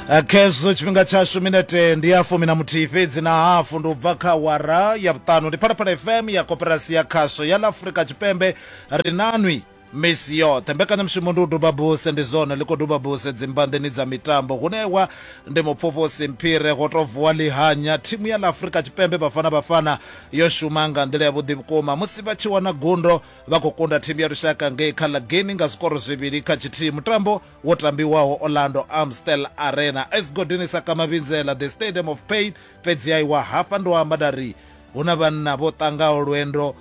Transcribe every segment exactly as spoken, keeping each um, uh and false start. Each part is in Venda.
Khezwo tshifhinga tshashu minete ndi ya fumi na muthihi fhedzi na hafu ndi u bva kha awara ya vhuṱanu. Ndi Phalaphala F M ya Koporasi ya Khasho ya ḽa Afrika Tshipembe. Ri nanwi misi yoṱhe. Mbekanyamushumo ndi u duba buse, ndi zwone ḽi khou duba buse dzimbanḓeni dza mitambo. Hune wa ndi mupfufhusi Mphire go to vuwa ḽihanya. Thimu ya ḽa Afrika Tshipembe Bafana Bafana yo shuma nga nḓila yavhuḓi vhukuma musi vha tshi wana gundo vha khou kunda thimu ya lushaka ngei kha ḽa Guinea nga zwikoro zwivhili kha tshithihi. Mutambo wo tambiwaho Orlando Amstel Arena Esigodini sa Kamavhinzela, the Stadium of Pain. Fhedzi aiwa hafha ndo amba nda ri hu na vhanna vho tangaho lwendo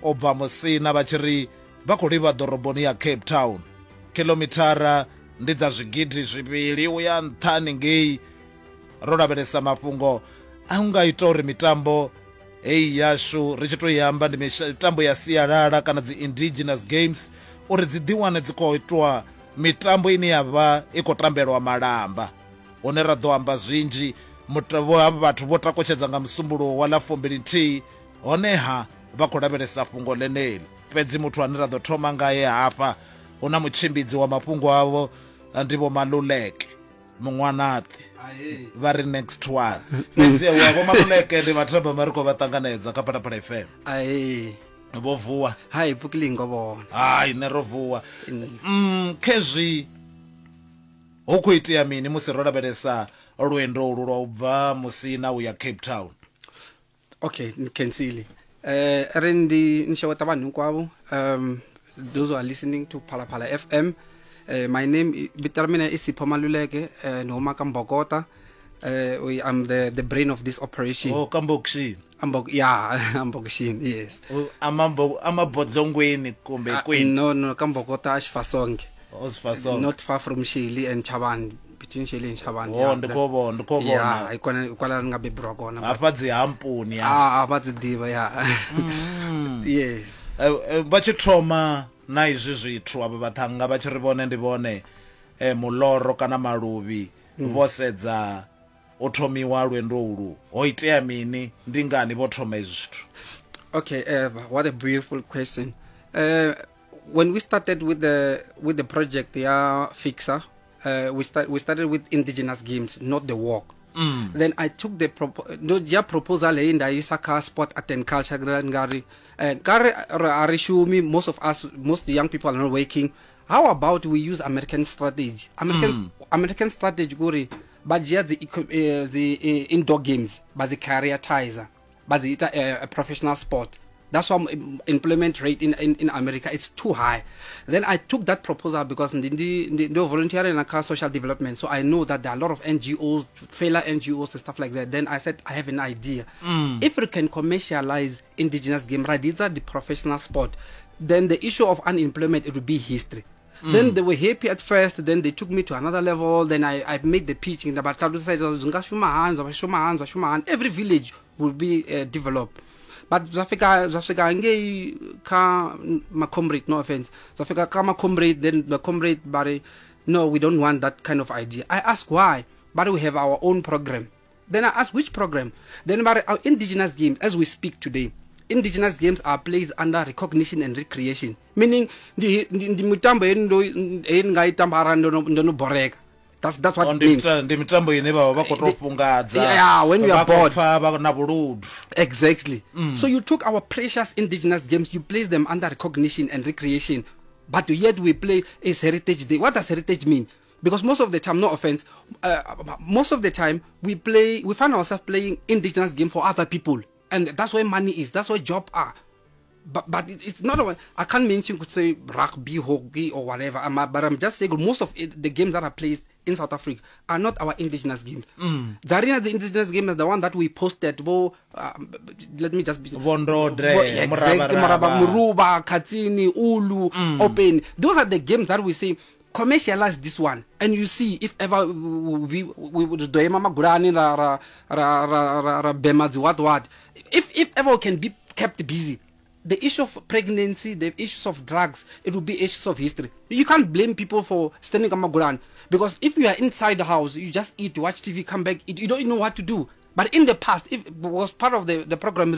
o bva Musina vha tshi ri vha khou livha ḓoroboni ya Cape Town. Kilomithara ndi dza zwigidi zwivhili u ya nṱhani ngei. Ro lavhelesa mafhungo a nga ita uri mitambo heyi yashu ri tshi tou i amba ndi mitambo ya sialala kana dzi indigenous games, uri dzi ḓiwane dzi khou itwa mitambo ine ya vha i khou tambelwa malamba, hune ra ḓo amba zwinzhi. Havha vhathu vho takutshedza nga musumbuluwo wa ḽa fumbili nthihi, honeha vha khou lavhelesa fhungo ḽeneḽi. Fhedzi muthu ane ra ḓo thoma ngaye hafha hu na mutshimbidzi wa mafhungo avho ndi Vho Maluleke Muṅwanaṱi, vha ri next one. Fhedzi wa Vho Maluleke ndi mathamba ri khou vha ṱanganedza kha Phalaphala F M. Vho vuwa? Hai, pfukile ngo vhona. Hai, nṋe ro vuwa. Mm, khezwi hu khou itea mini musi ro lavhelesa lwendo ulu lwa u bva Musina u ya Cape Town? Okay, ni khensile. Eh ri ndi nxeweta vanhu hinkwavo, um those who are listening to Phalaphala F M. Uh, my name vito ra mina i Sipho Maluleke, uh, ni huma ka Mbokota. Uh, we, I'm the the brain of this operation. Oh, ka Mbokxini. Ambok yeah, Ambokxini, yes. Amambo amabodlongweni kumbe kwini? No, no, ka Mbokota a Xifasonge. Oh, Xifasonge. Not far from Shelly and Chavani. Between Shelly and Chavani. Oh, ndi khou vhona, ndi khou vhona. Yeah, ikona kwala nga bebirwa kona. Hafha dzi hampuni ya. Ah, hafha dzi ḓivha ya. Yes. Vha tshi thoma na izwi zwithu avha vhaṱhannga vha tshi ri vhone ndi vhone eh muloro kana maluvhi vho sedza u thomiwa lwendo ulu, ho itea mini, ndi ngani vho thoma izwi zwithu? Okay, uh, what a beautiful question. Uh, when we started with the with the project ya Fixer, uh, we start we started with indigenous games, not the walk. Mm. Then I took the propo- no ya proposal in the Isaka Sport Art and Culture ngari ngari arishumi, most of us, most young people are not working. How about we use American strategy? American mm. American strategy gori ba dzhia the uh, the uh, indoor games ba dzi careerizer, ba dzi ita a, a professional sport. That's why employment rate in, in, in America is too high. Then I took that proposal because ndi volunteer in a social development, so I know that there are a lot of N G Os, failure N G Os and stuff like that. Then I said, I have an idea. Mm. If we can commercialize indigenous game, right, these are the professional sport, then the issue of unemployment, it will be history. Mm. Then they were happy at first, then they took me to another level, then I, I made the pitching. Every village will be uh, developed. But zwa fika zwa fika ngei kha ma comrade, no offense, zwa fika kha ma comrade, then the comrade bari, no, we don't want that kind of idea. I ask why, but we have our own program. Then I ask which program. Then bari, our indigenous games, as we speak today, indigenous games are placed under recognition and recreation, meaning ndi ndi mitambo endo nga itamba ndo ndo boreka. That's that's what it means. Ndi mitambo ine vha vha khou tou fhungadza. Yeah, when we are bored. Vha na vhuludu. Exactly. Mm. So you took our precious indigenous games, you place them under recognition and recreation, but yet we play is Heritage Day. What does heritage mean? Because most of the time, no offense, uh, most of the time we play, we find ourselves playing indigenous game for other people, and that's where money is. That's where jobs are. But but it, it's not a, I can't mention could say rugby, hockey or whatever. I'm, but I'm just saying most of it, the games that are played in South Africa are not our indigenous games. Mm. Zarina, the indigenous game is the one that we posted. Bo, uh, let me just be Bondodre, exactly, Muraba, Muruba, Katini, Ulu, mm. Open. Those are the games that we say commercialize this one, and you see if ever we we would do mama gurani ra ra ra ra ra bema what what. If if ever we can be kept busy. The issue of pregnancy, the issues of drugs, it will be issues of history. You can't blame people for standing on Maguran, because if you are inside the house, you just eat, watch T V, come back, eat, you don't know what to do. But in the past, if it was part of the, the program,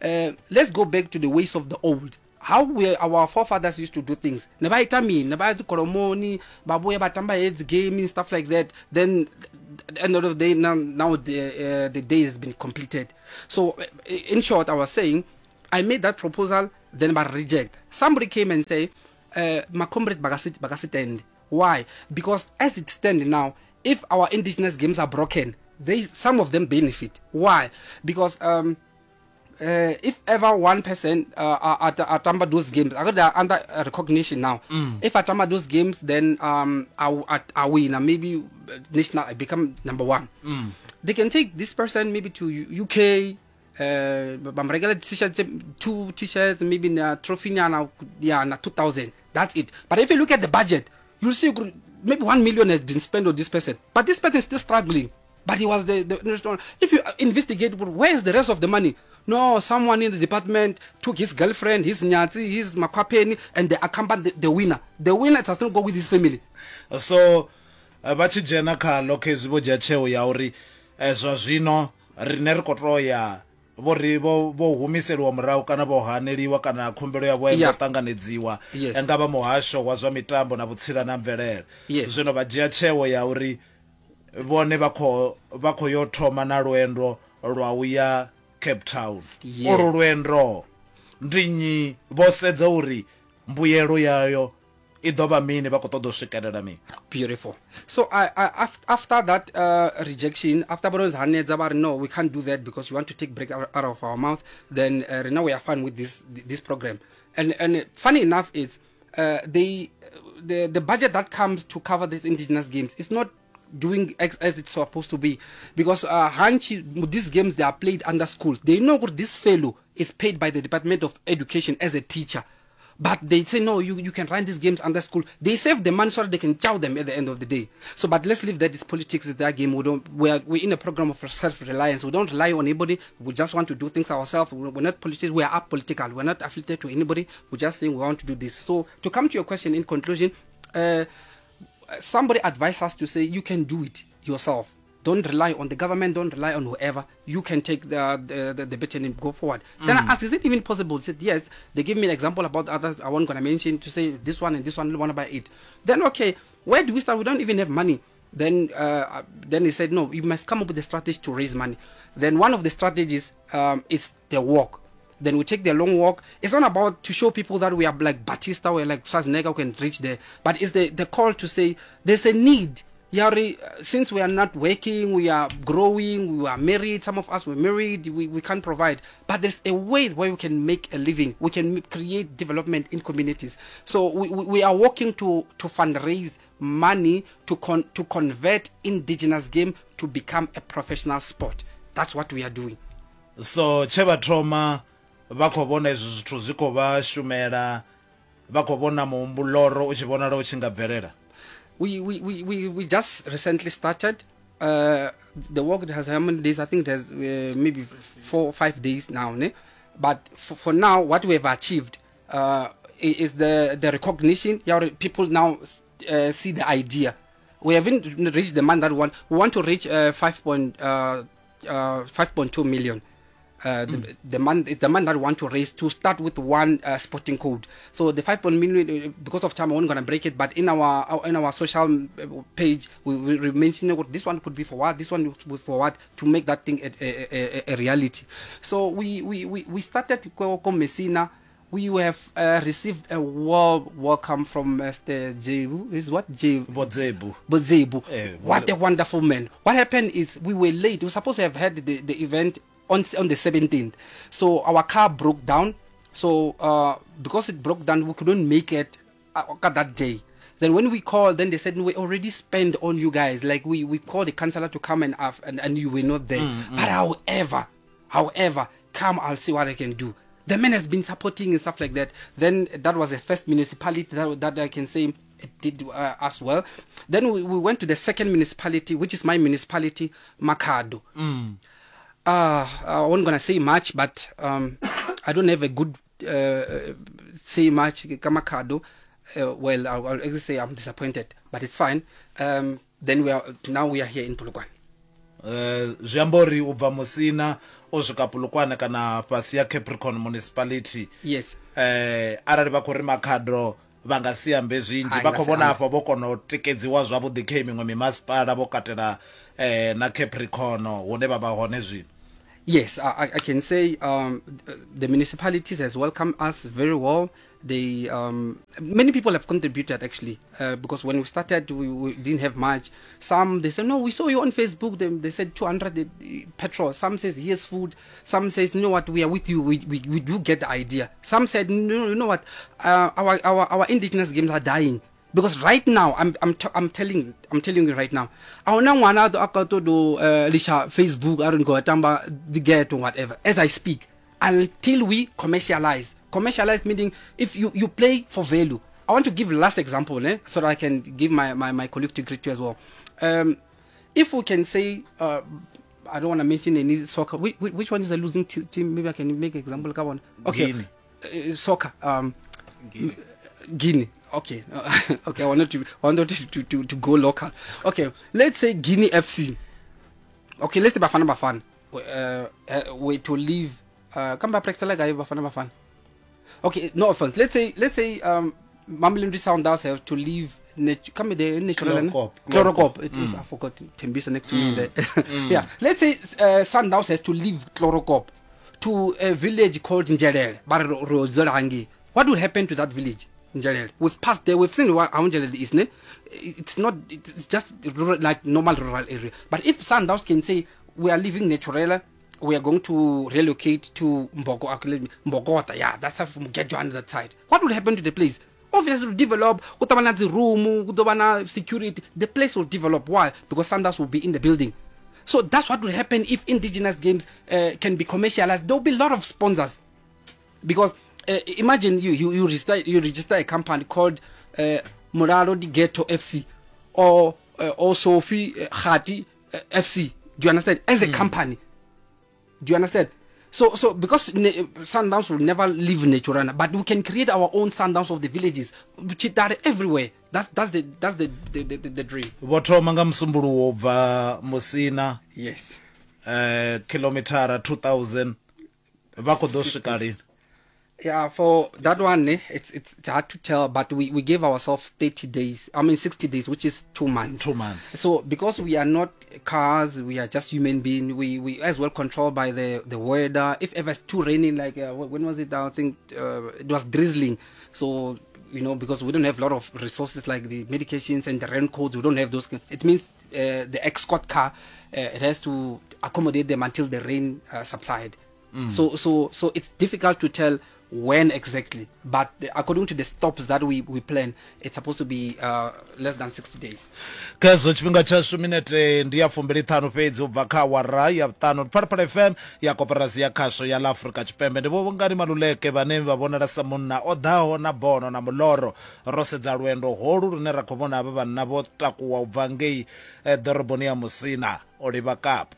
uh, let's go back to the ways of the old. How we, our forefathers used to do things. Ne ba ita mini, ne ba ya dzikolomoni, ba vhuya vha tamba heads gaming, stuff like that. Then At the end of the day, now, now the, uh, the day has been completed. So in short, I was saying, I made that proposal, then I reject. Somebody came and say, uh, my comrade Bagasitend. Why? Because as it stands now, if our indigenous games are broken, they some of them benefit. Why? Because um, uh, if ever one person uh, at atamba those games, they are under recognition now. Mm. If I atamba those games, then um, I, I, I win, and maybe national, I become number one. Mm. They can take this person maybe to U K. Uh, regular t-shirts, two t-shirts, maybe na trophy na yeah, na two thousand. That's it. But if you look at the budget, you'll see maybe one million has been spent on this person. But this person is still struggling. But he was the, the if you investigate, where is the rest of the money? No, someone in the department took his girlfriend, his nyatsi, his makwapeni, and they accompanied the, the winner. The winner does not go with his family. So, vha tshi dzhena kha khezwi vho dzhia tsheo ya uri zwa zwino rine ri khou tou ya vho ri vho vho humiseliwa murahu kana vho haneliwa kana khumbelo yavho ya ṱanganedziwa nga vha muhasho wa zwa mitambo na vhutsila na mvelele. Zwino vha dzhia tsheo ya uri vhone vha khou vha khou yo thoma na lwendo lwa u ya Cape Town. Uru lwendo ndi nnyi vho sedza uri mbuyelo yayo i ḓo vha mini, vha khou ṱoḓa u swikelela mini. Beautiful. So I, I, after that uh, rejection, after Baron's hanedza ba no, we can't do that because you want to take break out of our mouth, then uh, now we are fine with this this program. And and funny enough is uh, they the the budget that comes to cover these indigenous games is not doing as, as it's supposed to be, because uh, Hanchi, these games, they are played under school. They know this fellow is paid by the Department of Education as a teacher. But they say, no, you, you can run these games under school. They save the money so that they can chow them at the end of the day. So, but let's leave that. This politics is their game. We don't, we are, we're in a program of self-reliance. We don't rely on anybody. We just want to do things ourselves. We're not politics. We are apolitical. We're not affiliated to anybody. We're just saying we want to do this. So, to come to your question in conclusion, uh, somebody advised us to say, you can do it yourself. Don't rely on the government. Don't rely on whoever. You can take the the, the, the baton and go forward. Mm. Then I asked, is it even possible? They said, yes. They gave me an example about others I wasn't going to mention, to say this one and this one, one by eight. Then, okay, where do we start? We don't even have money. Then uh, then they said, no, you must come up with a strategy to raise money. Then one of the strategies um, is the walk. Then we take the long walk. It's not about to show people that we are like Batista, we're like Schwarzenegger, we can reach there. But it's the, the call to say there's a need. Yari, since we are not working, we are growing, we are married, some of us were married, we, we can't provide. But there's a way where we can make a living. We can create development in communities. So we, we, we are working to, to fundraise money to, con, to convert indigenous game to become a professional sport. That's what we are doing. So, tshe vha thoma vha khou vhona izwi zwithu zwi khou vha shumela, vha khou vhona muhumbuloro u tshi vhonala u tshi nga bvelela. We, we, we, we, we just recently started. Uh, the work has how many days? I think there's uh, maybe four or five days now. Ne? But for, for now, what we have achieved uh, is the, the recognition. People now uh, see the idea. We haven't reached the man that we want. We want to reach uh, five point two million. Uh, the, mm. the man, the man that we want to raise to start with one uh, sporting code. So the five point million, because of time, I'm not gonna break it. But in our, our in our social page, we we mention what this one could be for what, this one would be for what, to make that thing a, a, a, a reality. So we we we, we started ko Messina. We have uh, received a warm welcome from Mister Jebu. Is what Jebu? Bozebu. Bozebu. Eh, what a wonderful man. What happened is we were late. We were supposed to have had the, the event on on the seventeenth. So our car broke down. So uh, because it broke down, we couldn't make it uh, that day. Then when we called, then they said, we already spent on you guys. Like we, we called the councillor to come and, uh, and, and you were not there. Mm, mm. But however, however, come, I'll see what I can do. The man has been supporting and stuff like that. Then that was the first municipality that, that I can say it did uh, as well. Then we, we went to the second municipality, which is my municipality, Makhado. Mm. Uh, I wasn't gonna say much, but um, I don't have a good uh, say much. Makhado. Uh, well, I'll, I'll actually say I'm disappointed, but it's fine. Um, then we are now we are here in Polokwane. Zwi amba uri u bva Musina u swika Polokwane kana fhasi ya Capricorn Municipality. Yes. Eh, arali vha khou ri Makhado vha nga si ambe zwinzhi vha khou vhona afha vho kona u tikedziwa zwavhuḓi kha miṅwe mimasipala vho katela eh, na Capricorn hune vha vha hone zwino. Yes, I, I can say um, the municipalities has welcomed us very well. They um, many people have contributed actually, uh, because when we started we, we didn't have much. Some they said, no, we saw you on Facebook. They, they said two hundred petrol. Some says here's food. Some says, you know what, we are with you. We we, we do get the idea. Some said, no, you know what, uh, our our our indigenous games are dying. Because right now, I'm I'm t- I'm telling I'm telling you right now, I wanna do uh, Facebook, I don't go tamba the get or whatever. As I speak, until we commercialize, commercialize meaning if you, you play for value. I want to give last example, eh, so that I can give my, my, my colleague to greet you as well. Um, if we can say, uh, I don't want to mention any soccer. Which, which one is the losing t- team? Maybe I can make an example. Come on. Okay, Guinea. Uh, soccer. Um, Guinea. Guinea. Okay, okay. I wanted to wanted to, to, to go local. Okay, let's say Guinea F C. Okay, let's say Bafana Bafana. Uh, uh, we to leave. Uh, come back, like Bafana Bafana. Okay, no offense. Let's say let's say um, Mamelodi Sundowns have to leave. Nat- come there, natural. Chlorocop. Chlorocop. It is, mm. I forgot Tembisa next to mm. me there. Mm. Yeah. Let's say uh, Sundowns has to leave Chlorocop to a village called Njelele. What will happen to that village? Njelele. We've passed there. We've seen how Njelele is. Ne? It's not. It's just rural, like normal rural area. But if Sundowns can say we are leaving Naturela, we are going to relocate to Mboko, Mbogota. Yeah, that's how from get you on that side. What will happen to the place? Obviously, will develop. Room, security. The place will develop. Why? Because Sundowns will be in the building. So that's what will happen if indigenous games uh, can be commercialized. There will be a lot of sponsors, because. Uh, imagine you, you you register you register a company called uh, Moralo di Ghetto F C or uh, or Sophie Khati uh, F C. Do you understand? As a mm. company, do you understand? So so because ne- Sundowns will never leave Naturana, but we can create our own Sundowns of the villages, Chitare everywhere. That's that's the that's the the, the, the, the dream. Vho thoma nga Musumbuluwo bva Musina. Yes. Uh, kilometer two thousand. Vha khou ḓo swika lini? Yeah, for that one, eh, it's, it's it's hard to tell, but we, we gave ourselves thirty days. I mean, sixty days, which is two months. Two months. So because we are not cars, we are just human beings. We, we as well controlled by the, the weather. If ever it's too rainy, like uh, when was it? I think uh, it was drizzling. So, you know, because we don't have a lot of resources like the medications and the raincoats, we don't have those. It means uh, the escort car, uh, it has to accommodate them until the rain uh, subside. Mm. So, so, so it's difficult to tell when exactly, but the, according to the stops that we, we plan, it's supposed to be uh, less than sixty days. Khezwo tshifhinga tshashu minete ndi ya fumbili ṱhanu fhedzi u bva kha awara ya vhuṱanu. Phalaphala F M ya Koporasi ya Khasho ya ḽa Afrika Tshipembe. Ndi Vho Vhungani Maluleke vhane vha vhonala sa munna o ḓaho na bono na muloro. Ro sedza lwendo holu lune ra khou vhona havha vhanna vho takuwa u bva ngei ḓoroboni ya Musina o livha Kapa.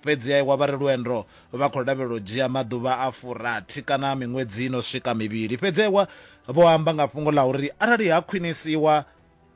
Fhedzi aiwa vha ri lwendo vha khou lavhelela u dzhia maḓuvha a furathi kana miṅwedzi ino swika mivhili. Fhedzi aiwa vho amba nga fhungo ḽa uri arali ha khwinisiwa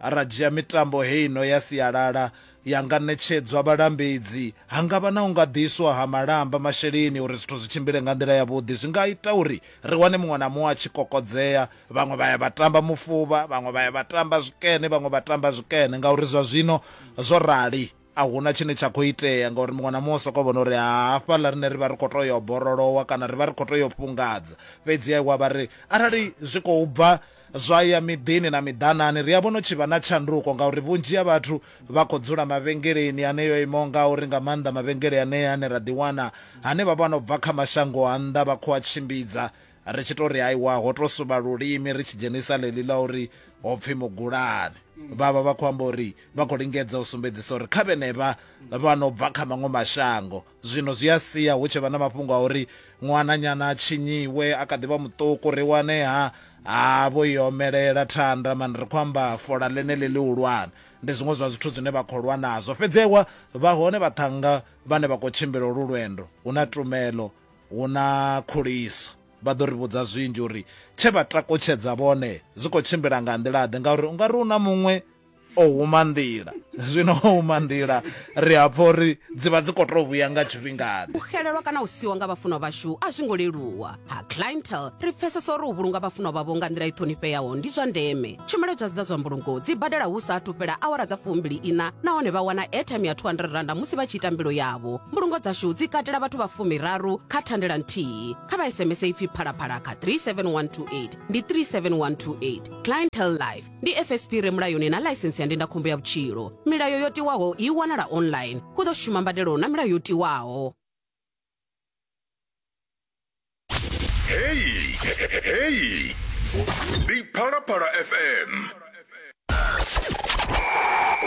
ra dzhia mitambo heino ya sialala ya nga ṋetshedzwa vhalambedzi, ha nga vha na u nga ḓiswa ha malamba masheleni uri zwithu zwi tshimbile nga nḓila yavhuḓi, zwi nga ita uri ri wane muṅwe na muṅwe a tshi kokodzea. Vhaṅwe vha ya vha tamba mufuvha, vhaṅwe vha ya vha tamba zwikene, vhaṅwe vha tamba zwikene, ngauri zwa zwino zwo rali a huna tshine tsha khou itea, ngauri muṅwe na muṅwe u sokou vhona uri hafhaḽa rine ri vha ri khou tou yo borolowa kana ri vha ri khou tou yo fhungadza. Fhedzi aiwa vha ri arali zwi khou bva zwa ya miḓini na miḓanani ri a vhona u tshi vha na tshanduko, ngauri vhunzhi ha vhathu vha khou dzula mavhengeleni aneyo imaho ngauri, nga maanḓa mavhengele anea ane ra ḓiwana ane vha vha no bva kha mashango a nnḓa vha khou a tshimbidza, ri tshi tou ri aiwa ho tou suvha lulimi ri tshi dzhenisa ḽeḽi ḽa uri ho pfhi mugulani. Vha vha vha khou amba uri vha khou lingedza u sumbedzisa uri kha vhenevha vha no bva kha maṅwe mashango. Zwino zwi a sia hu tshi vha na mafhungo a uri ṅwananyana a tshinyiwe a kha ḓi vha muṱuku, ri wane ha ha vho yomelela thanda mani, ri khou amba fola ḽeneḽi ḽihulwane. Ndi zwiṅwe zwa zwithu zwine vha khou lwa nazwo. Fhedzi aiwa vha hone vhaṱhannga vhane vha khou tshimbila olu lwendo, hu na tumelo, hu na khuliso. Vha ḓo ri vhudza zwinzhi uri tshe vha takutshedza vhone zwi khou tshimbila nga nḓila ḓe, ngauri u nga ri u na muṅwe o huma nḓila. Zwino huma nḓila ri a pfa uri dzi vha dzi khou tou vhuya nga tshifhingaḓe. U xelelwa kana u siwa nga vhafunwa vhashu a zwi ngo leluwa. Ha Clientele ri pfesesa uri u vhulunga vhafunwa vhavho nga nḓila i ṱhonifheaho ndi zwa ndeme. Tshumelo dza dza zwa mbulungo dzi badela hu sa athu fhela awara dza fumbili ina nahone vha wana airtime ya two hundred randa musi vha tshi ita mbilo yavho. Mbulungo dzashu dzi katela vhathu vha fumiraru kha thandela nthihi. Kha vha S M S ipfi phalaphala kha three seven one two eight ndi three seven one two eight. Clientele Life ndi F S P re mulayoni na ḽaisensi ya ndindakhombo ya vhutshilo. Milayo yo tiwaho i wanala online. Hu ḓo shuma mbadelo na milayo yo tiwaho. Hey, hey, ndi Phalaphala F M.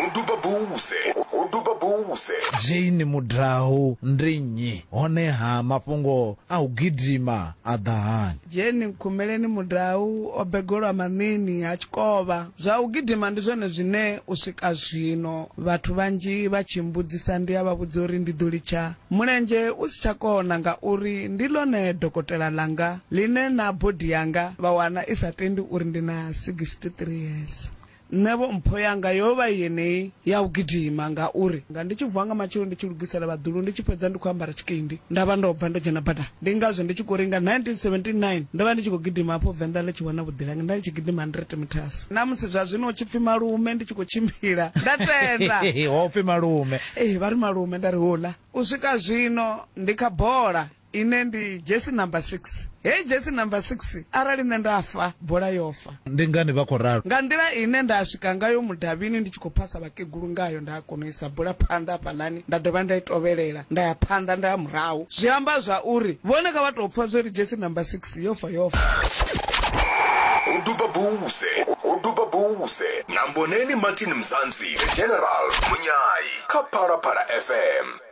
Uduba buse, uduba buse. Jane Mudau ndi nnyi? Honeha mafhungo a u gidima a ḓa hani? Jane Nkhumeleni Mudau o begolwa Maṋini ha Tshikovha. Zwa u gidima ndi zwone zwine u swika zwino vhathu vhanzhi vha tshi mbudzisa ndi a vha vhudza uri ndi ḓo litsha mulenzhe u si tsha kona ngauri ndi ḽone dokotela langa ḽine na body yanga vha wana i sa tendi uri ndi na sixty-three years. Nṋe vho mpho yanga yo vha yeneyi ya u gidima ngauri nga ndi tshi vuwa nga matshelo ndi tshi lugisela vhaḓulu ndi tshi fhedza ndi khou ambara tshikindi nda vha ndo bva ndo dzhena badani. Ndi ngazwo ndi tshi khou ringa nineteen seventy-nine ndo vha ndi tshi khou gidima hafho Venḓa ḽi tshi wana vhuḓilangi nda ndi tshi gidima hundred meters. Na musi zwa zwino u tshi pfi malume ndi tshi khou tshimbila nda tenda. Ho pfi malume. Eh vha ri malume nda ri hula. U swika zwino ndi kha bola ine ndi jersey number six. Hey jersey number six arali nṋe nda fa bola yo fa. Ndi ngani vha khou ralo? Nga nḓila ine nda swika ngayo mudavhini ndi tshi khou phasa vhakegulu ngayo nda kona u isa bola phanḓa hafhaḽani nda dovha nda i tovhelela nda ya phanḓa nda ya murahu. Zwi amba zwa uri vhone kha vha tou pfa zwa uri jersey number six yo fa yo fa. Uduba buse, uduba buse. Na Mboneni Martin Mzansi, General Munyai, kha Phalaphala F M.